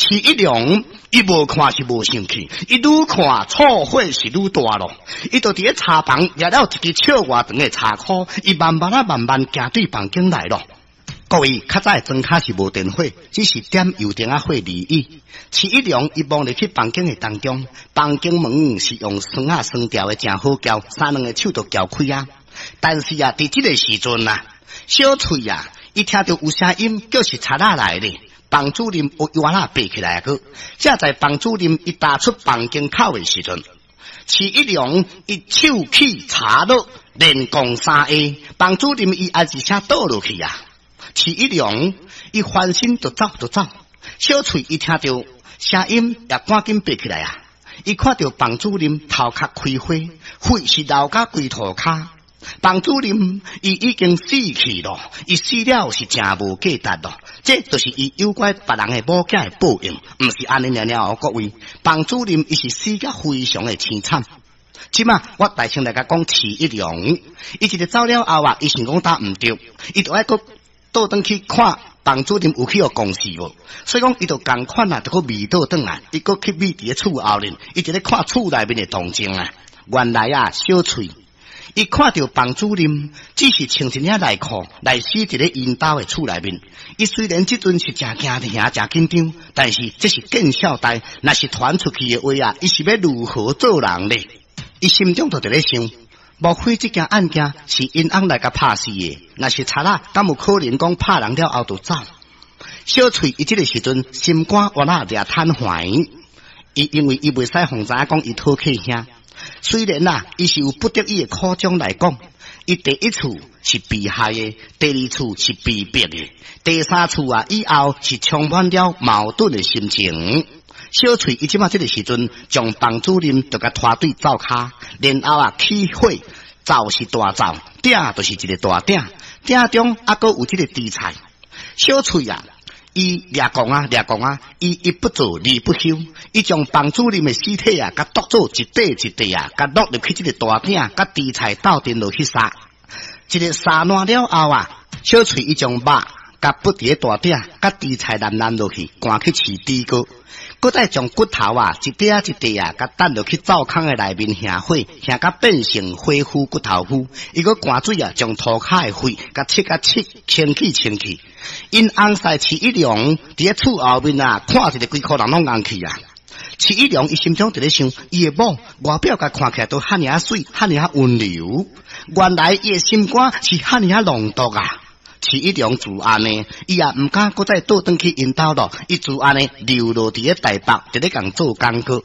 徐一良伊無看是無生氣，伊愈看醋火是愈大咯。伊就佇咧柴房掠了一支尺外長的柴箍，伊慢慢仔慢慢行對房間來咯。各位，較早的莊跤是無電火，只是點油燈仔火而已。徐一良伊望入去房間的當中，房間門是用栓仔栓牢的，誠好撬，三兩个手就撬開啊。但是啊，佇這个時陣啊，小翠啊，伊聽著有聲音，叫是賊仔來咧。房主任有院仔爬起來啊！閣，正在房主任伊踏出房間口的時陣，徐一良伊手起柴落，連攻三下，房主任伊也一聲倒落去啊！徐一良伊翻身就走就走，小翠伊聽著聲音也趕緊爬起來啊！伊看著房主任頭殼開花，血是流甲規塗跤。房主任伊已經死去咯，伊死了是誠無價值咯，這就是伊誘拐別人的某囝的報應，毋是按呢爾爾哦，各位，房主任伊是死甲非常的凄慘。這馬我大聲來共講徐一良，伊一个走了後啊，伊想講打毋對，伊就愛閣倒轉去看房主任有去予公示無，所以講伊就仝款啊，就閣味倒轉來，伊閣去覕佇咧厝後面，伊佇咧看厝內面的動靜啊。原來啊，小翠。伊看著房主任只是穿一領內褲來死佇咧𪜶兜的厝內面。伊雖然這陣是誠驚嚇、誠緊張，但是這是見笑代，若是傳出去的話啊，伊是欲如何做人咧？伊心中就佇咧想：莫非這件案件是𪜶翁來共拍死的？若是賊仔，敢有可能講拍人了後就走？小翠伊這个時陣心肝原來掠坦懷，伊因為伊袂使予人知影講伊討客兄。雖然啊，伊是有不得已的苦衷來講，伊第一次是被害的，第二次是被逼的，第三次啊以後是充滿了矛盾的心情。小翠伊這馬這个時陣，將房主任就共拖對灶跤，然後啊起火，灶是大灶，鼎就是一个大鼎，鼎中猶閣有這个豬菜。小翠啊，伊掠講啊，掠講啊，伊一不做二不休，伊將房主任的屍體啊，共剁做一塊一塊啊，共落入去這个大鼎，佮豬菜鬥陣落去煠。一个煠爛了後啊，小翠伊將肉共放佇咧大鼎，佮豬菜淋淋落去，趕去飼豬哥，閣再將骨頭啊一塊一塊啊，共擲落去灶坑的內面燃火，燃甲變成火烌骨頭烌。伊閣灌水啊，將塗跤的血共拭甲拭清氣清氣。𪜶翁婿徐一良佇咧厝後面啊，看一个規箍人攏𠓪去啊。徐一良伊心中佇咧想，伊的某外表共看起來都遐爾仔媠，遐爾仔溫柔，原來伊的心肝是遐爾仔濃毒啊！徐一良自按呢，伊也毋敢閣再倒轉去𪜶兜咯，伊自按呢流落佇咧台北，佇咧共做工課。